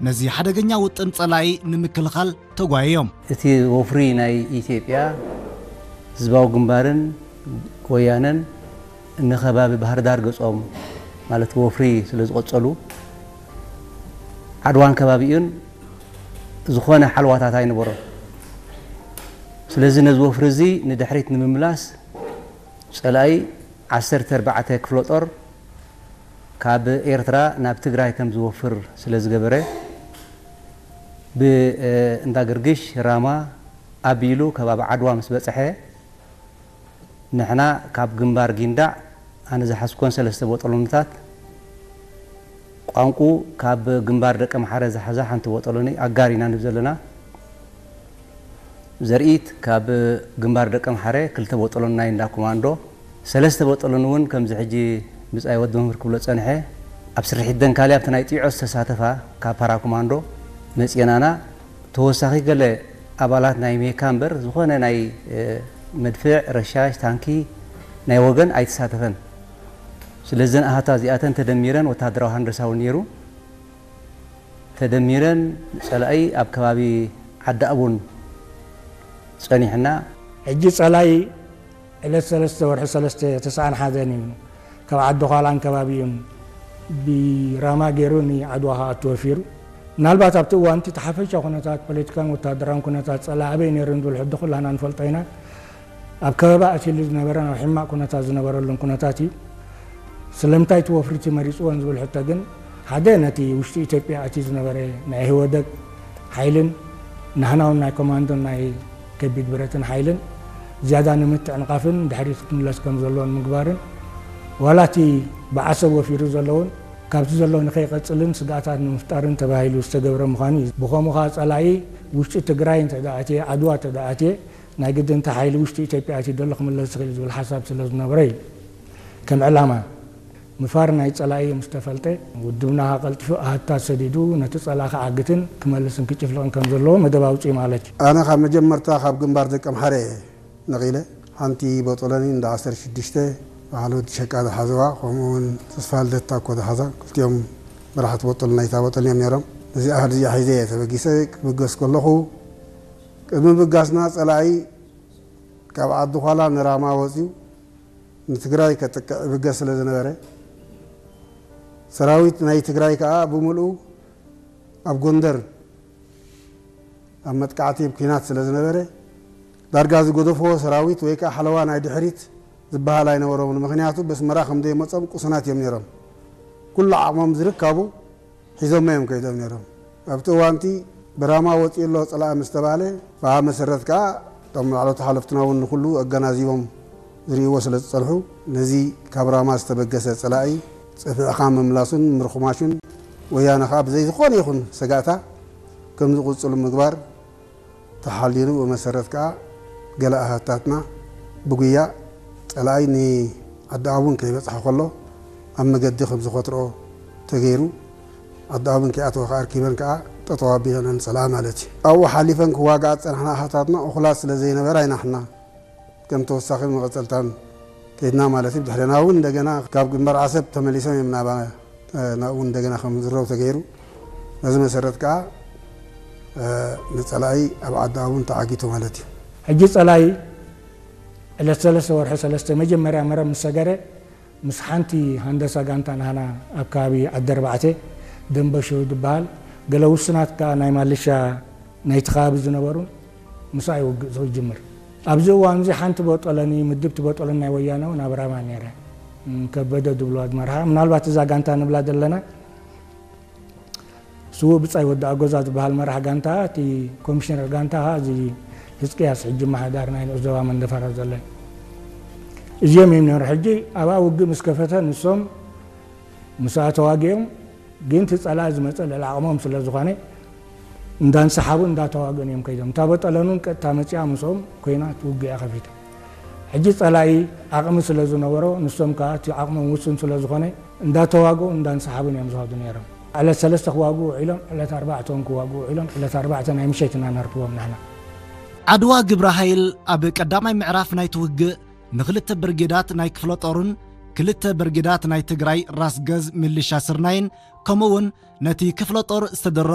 ነዚ ሓደገኛ ውጥን ጸላኢ ንምክልኻል ተጓየዮም። እቲ ወፍሪ ናይ ኢትዮጵያ ህዝባዊ ግንባርን ወያነን ንከባቢ ባህር ዳር ገጾም፣ ማለት ወፍሪ ስለ ዝቐጸሉ፣ ዓድዋን ከባቢኡን ዝኾነ ሓልዋታት ኣይነበሮን። ስለዚ ነዚ ወፍሪ እዚ ንድሕሪት ንምምላስ ጸላኢ ዓሰርተ ኣርባዕተ ክፍለ ጦር ካብ ኤርትራ ናብ ትግራይ ከም ዝወፍር ስለ ዝገበረ፣ ብእንዳ ገርግሽ ራማ ኣቢሉ ከባቢ ዓድዋ ምስ በጽሐ፣ ንሕና ካብ ግንባር ጊንዳዕ፣ ኣነ ዝሓዝኮን ሰለስተ ቦጠሎንታት፣ ቋንቁ ካብ ግንባር ደቀምሓረ ዝሓዛ ሓንቲ ቦጠሎኒ ኣጋር ኢና ንብል ዘለና። ዘርኢት ካብ ግንባር ደቀምሓረ ክልተ ቦጠሎን ናይ እንዳ ኮማንዶ፣ ሰለስተ ቦጠሎን እውን ከምዚ ሕጂ ብጻይ ወዲ መምህር ክብሎ ጸንሐ፣ ኣብ ስርሒት ደንካሊ ኣብቲ ናይ ጢዖ ዝተሳተፋ ካብ ፓራ ኮማንዶ መጽየናና። ተወሳኺ ገለ ኣባላት ናይ ሜካ እምበር ዝኾነ ናይ፣ እ፣ መድፍዕ፣ ረሻሽ፣ ታንኪ ናይ ወገን ኣይተሳተፈን። ስለዘን ኣሃታ እዚኣተን ተደሚረን ወታደራዊ ሃንደሳ እውን ነይሩ። ተደሚረን ጸላኢ ኣብ ከባቢ ዓዲ ኣቡን ጸኒሕና። ሕጂ ጸላኢ ዕለት ሰለስተ ወርሒ ሰለስተ ተስዓን ሓደን እዩ ካብ ዓዲ ዃላን ከባቢኡን ብራማ ገይሩ ንዓድዋ ክኣቱ ወፊሩ። ምናልባት ኣብቲ እዋን እቲ ሓፈሻ ኩነታት ፖለቲካን ወታደራውን ኩነታት ጸላኢ ኣበይ ነይሩ ንዝብል ሕጂ ኩላና ንፈልጦ ኢና። ኣብ ከበባ ኣትይሉ ዝነበረ፣ ኣብ ሕማቕ ኩነታት ዝነበረሉን ኩነታት እዩ። ስለምንታይ እቲ ወፍሪ እቲ መሪጽዎን ዝብል ሕቶ ግን፣ ሓደ ነቲ ውሽጢ ኢትዮጵያ ኣትዩ ዝነበረ ናይ ህወደግ ሓይልን ናህናውን ናይ ኮማንዶን ናይ ከቢድ ብረትን ሓይልን ዝያዳ ንምትዕንቓፍን ድሕሪት ክትምለስ ከም ዘለዎን ምግባርን፣ ዋላ እቲ ብዓሰብ ወፊሩ ዘለውን ካብቲ ዘሎ ንኸይቐጽልን ስግኣታት ንምፍጣርን ተባሂሉ ዝተገብረ ምዃኑ እዩ። ብኸምኡ ኸኣ ጸላኢ ውሽጢ ትግራይ እንተ ደኣ ኣትየ፣ ዓድዋ እንተ ደኣ ኣትየ፣ ናይ ግድን እቲ ሓይሊ ውሽጢ ኢትዮጵያ ኣትዩ ዘሎ ክምለስ ይኽእል እዩ ዝብል ሓሳብ ስለ ዝነበረ እዩ። ከም ዕላማ ምፋር ናይ ጸላኢ ምስ ተፈልጠ፣ ውድብና ከኣ ቀልጢፉ ኣሃታት ሰዲዱ ነቲ ጸላኢ ክዓግትን ክመልስን ክጭፍልቕን ከም ዘለዎ መደብ ኣውጽኡ ማለት እዩ። ኣነ ካብ መጀመርታ ካብ ግንባር ደቀምሓረ እየ ነቒለ። ሓንቲ ቦጦሎኒ እንዳ ዓሰርተ ሽዱሽተ በዓል ወዲ ሸቃ ዝሓዝዋ፣ ከምኡ እውን ተስፋ ልደት ታኮ ዝሓዛ፣ ክልቲኦም መራሕቲ ቦጦሎኒ ናይታ ቦጦሎኒ እዮም ነይሮም። ነዚኣ ኣሃድ እዚኣ ሒዘ እየ ተበጊሰ። ክብገስ ከለኹ፣ ቅድሚ ምብጋስና ጸላኢ ካብ ዓዲ ዃላ ንራማ ወጺኡ ንትግራይ ከጥቅዕ ይብገስ ስለ ዝነበረ፣ ሰራዊት ናይ ትግራይ ከኣ ብምልኡ ኣብ ጎንደር ኣብ መጥቃዕቲ፣ ኣብ ኲናት ስለ ዝነበረ፣ ዳርጋ ዝገደፍዎ ሰራዊት ወይ ከኣ ሓለዋ ናይ ድሕሪት ዝበሃል ኣይነበሮምን። ምኽንያቱ፣ በስመራ ከም ዘይመጾም ቅሱናት እዮም ነይሮም። ኩሉ ዓቕሞም ዝርካቡ ሒዞሞ እዮም ከይዶም ነይሮም። ኣብቲ እዋንቲ ብራማ ወፂኡ ኣሎ ፀላኢ ምስ ተባለ፣ ብኣ መሰረት ከዓ እቶም ላዕለዎት ሓለፍትና እውን ንኩሉ ኣገናዚቦም ዝርእይዎ ስለ ዝፀንሑ፣ ነዚ ካብ ራማ ዝተበገሰ ፀላኢ ፀፊዕኻ ምምላሱን ምርኹማሹን፣ ወያነ ከዓ ብዘይ ዝኾነ ይኹን ሰጋእታ ከም ዝቕፅሉ ምግባር ተሓልዩሉ። ብመሰረት ከዓ ገለ ኣሃታትና ብጉያ ፀላኢ ንዓዲ ኣቡን ከይበፅሐ ከሎ ኣብ መገዲ ከም ዝኸትርኦ ተገይሩ። ዓዲ ኣቡን ከይኣተወ ከዓ ኣርኪበን ከዓ ጠጠው ኣቢለነን ፀላኢ ማለት እዩ። ኣብኡ ሓሊፈን ክዋግኣ ዝፀናሕና ኣሃታትና እኹላት ስለ ዘይነበራ ኢና ንሕና ከም ተወሳኺ መቐፀልታን ከይድና ማለት እዩ። ብድሕሬና እውን እንደገና ካብ ግንባር ዓሰብ ተመሊሶም እዮም ናባ-፣ ናብኡ እንደገና ከም ዝረው ተገይሩ። በዚ መሰረት ከዓ፣ እ፣ ንፀላኢ ኣብ ዓዲ ኣቡን ተዓጊቱ ማለት እዩ። ሕጂ ፀላኢ ዕለት ሰለስተ ወርሒ ሰለስተ መጀመርያ መረብ ምስ ሰገረ፣ ምስ ሓንቲ ሃንደሳ ጋንታ ናህና ኣብ ከባቢ ዓዲ ኣርባዕተ፣ ደንበሾ ዝበሃል፣ ገለ ውሱናት ከኣ ናይ ማልሻ ናይቲ ከባቢ ዝነበሩን ምስኣ እዩ ውግእ ዝጅምር። ኣብዚ እዋን እዚ ሓንቲ ቦጦለኒ፣ ምድብቲ ቦጦለኒ ናይ ወያነ እውን ኣብ ራማ ነይረ። እም፣ ከበደ ዝብልዋ ዝመርሓ፣ ምናልባት እዛ ጋንታ ንብላ ዘለና፣ ስዉእ ብጻይ ወዲ ኣጎዛ ዝበሃል መራሕ ጋንታ፣ እቲ ኮሚሽነር ጋንታ ኸኣ እዚ ህዝቅያስ፣ ሕጂ ኣመሓዳሪ ናይ ንኡስ ዞባ መንደፈራ ዘሎ። እዚኦም እዮም ነይሩ። ሕጂ ኣብኣ ውግእ ምስ ከፈተ፣ ንሶም ምስኣ ተዋጊኦም፣ ግን እቲ ጸላኢ ዝመጸ ልዕሊ ዓቕሞም ስለ ዝኾነ፣ እንዳንሰሓቡ እንዳተዋግኡን እዮም ከይዶም። እታ ቦጦለኒ እውን ቀጥታ መጺኣ ምስኦም ኮይና እቲ ውግእ እያ ከፊታ። ሕጂ ጸላኢ ዓቕሚ ስለ ዝነበሮ፣ ንሶም ከኣ እቲ ዓቕሞም ውሱን ስለ ዝኾነ፣ እንዳተዋግኡ እንዳንሰሓቡን እዮም ዝኸዱ ነይሮም። ዕለት ሰለስተ ክዋግኡ ውዒሎም፣ ዕለት ኣርባዕተ እውን ክዋግኡ ውዒሎም፣ ዕለት ኣርባዕተ ናይ ምሸት ኢና ነርክቦም ንሕና። ዓድዋ ግብረ ሓይል ኣብ ቀዳማይ ምዕራፍ ናይቲ ውግእ ንኽልተ ብርጌዳት ናይ ክፍለ ጦርን ክልተ ብርጌዳት ናይ ትግራይ ራስ ገዝ ሚሊሻ ስርናይን፣ ከምኡ እውን ነቲ ክፍለ ጦር ዝተደረበ